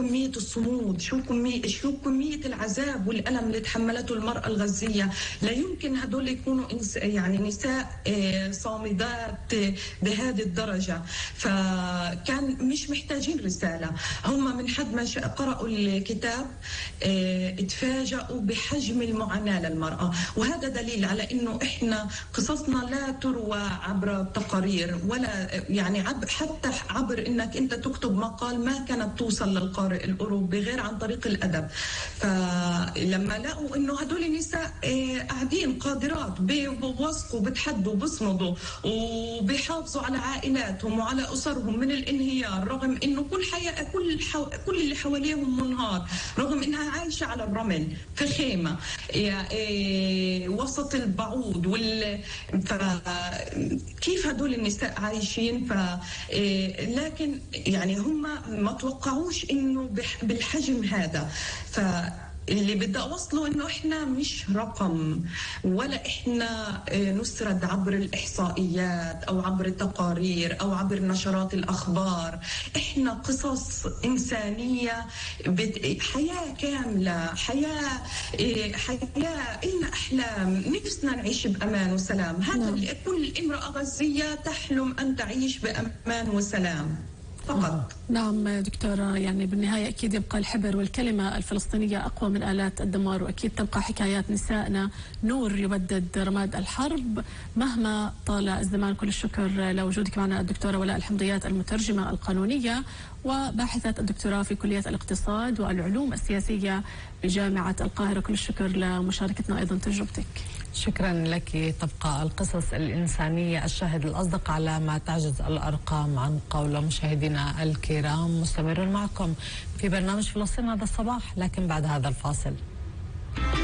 كمية الصمود، شو كمية العذاب والألم اللي تحملته المرأة الغزية. لا يمكن هدول يكونوا يعني نساء صامدات بهذه الدرجة. فكان مش محتاجين رسالة، هم من حد ما قرأوا الكتاب اتفاجأوا بحجم المعاناة للمرأة. وهذا دليل على إنه إحنا قصصنا لا تروى عبر تقارير ولا يعني حتى عبر إنك أنت تكتب مقال، ما كانت توصل للقارئ الأوروبي غير عن طريق الأدب. فلما لقوا إنه هدول النساء قاعدين قادرات بوثقوا بتحدوا بصمدوا وبيحافظوا على عائلاتهم وعلى أسرهم من الانهيار، رغم إنه كل اللي حواليهم منهار، رغم إنها عايشة على الرمل في خيمة وسط البعوض كيف هدول النساء عايشين؟ لكن يعني هم ما توقعوش إنه بالحجم هذا. اللي بدي أوصله إنه إحنا مش رقم، ولا إحنا نسرد عبر الإحصائيات أو عبر التقارير أو عبر نشرات الأخبار. إحنا قصص إنسانية، حياة كاملة، حياة إلنا أحلام، نفسنا نعيش بأمان وسلام. هذا كل امرأة غزية تحلم أن تعيش بأمان وسلام فقط. نعم دكتورة، يعني بالنهاية أكيد يبقى الحبر والكلمة الفلسطينية أقوى من آلات الدمار، وأكيد تبقى حكايات نسائنا نور يبدد رماد الحرب مهما طال الزمان. كل الشكر لوجودك معنا الدكتورة ولاء الحمضيات، المترجمة القانونية وباحثة الدكتوراه في كلية الاقتصاد والعلوم السياسية بجامعة القاهرة. كل الشكر لمشاركتنا أيضا تجربتك. شكرا لك. تبقى القصص الإنسانية الشاهد الأصدق على ما تعجز الأرقام عن قول. مشاهدينا الكرام، مستمرون معكم في برنامج فلسطين هذا الصباح، لكن بعد هذا الفاصل.